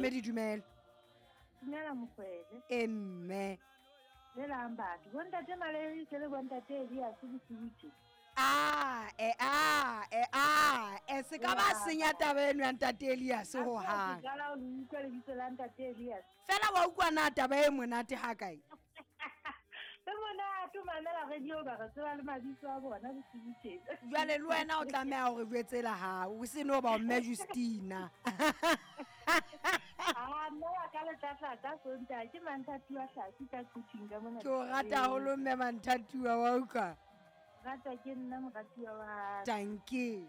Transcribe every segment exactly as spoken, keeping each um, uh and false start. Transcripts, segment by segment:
Mookamedi dumela. Dumela mokwele. E mme. Dumelang batho. Bontate Malerise le bontate Elias bosiu. Ah, eh ah, eh ah, eh se ka ba senya taba eno ya ntate Elias ho hang. Ke qala ho utlwa lebitso la ntate Elias. Fela wa utlwa na taba e monate ha kae? Le monate o mamela radio ba re tseba le mabitso a bona bosiu tjena. Jwale le wena o tlameha hore jwetse la hao, o se no ba mme Justina. Ah, nna wa ka le tlatlatla Sontaha ke Manthatuwa Hlasi ka Quthing ka mona. Ke o rata haholo mme Manthatuwa wa utlwa. Rata ke nna moratuwa wa. Tanki.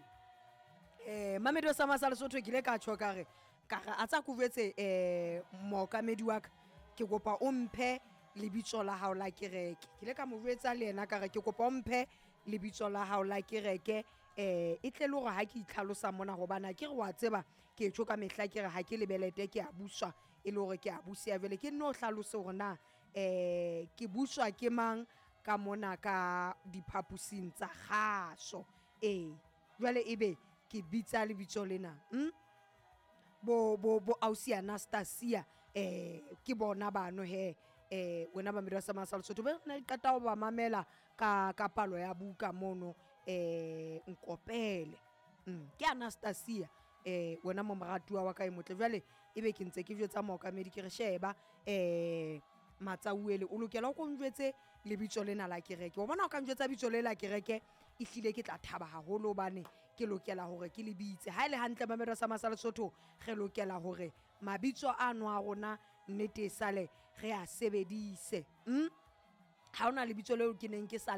Eh Mamedo sa Masa Lesotho ke ile ka tjho ka re ka re a tsa kuvetse eh mookamedi wa ka ke kopa o mphe lebitso la hao la kereke. Ke ile ka mo jwetsa le yena ka re ke kopa o mphe lebitso la hao la kereke eh e tle le hore ha ke itlhalosa mona hobane ke re wa tseba ke tjho ka mehla ke re ha ke lebelete ke a buswa e le hore ke a busia jwale ke nno hlalose hore na eh ke buswa ke mang ka mona ka diphapusing tsa kgaso. Eh jwale ebe ke bitsa lebitso lena hm bo bo bo ausi Anastasia eh ke bona bano he eh wena ba Mamedo sa Masa Lesotho be re qeta ho ba mamela ka ka palo ya buka mono eh nkopele mm ke Anastasia eh wena mo moratuwa wa ka e motle jwale ebe ke ntse ke jwetsa mookamedi ke re sheba eh Matsauele o lokela o konjwetse lebitso lena la kereke. O bona o ka njwetsa bitso le la kereke e hlile ke tla thaba haholo hobane ke lokela hore ke le bitse. Ha ile hantle Mamedo sa Masa Lesotho re lokela hore mabitso a no a rona nnete sale re a sebedise. Hm ha ona lebitso leo ke neng ke sa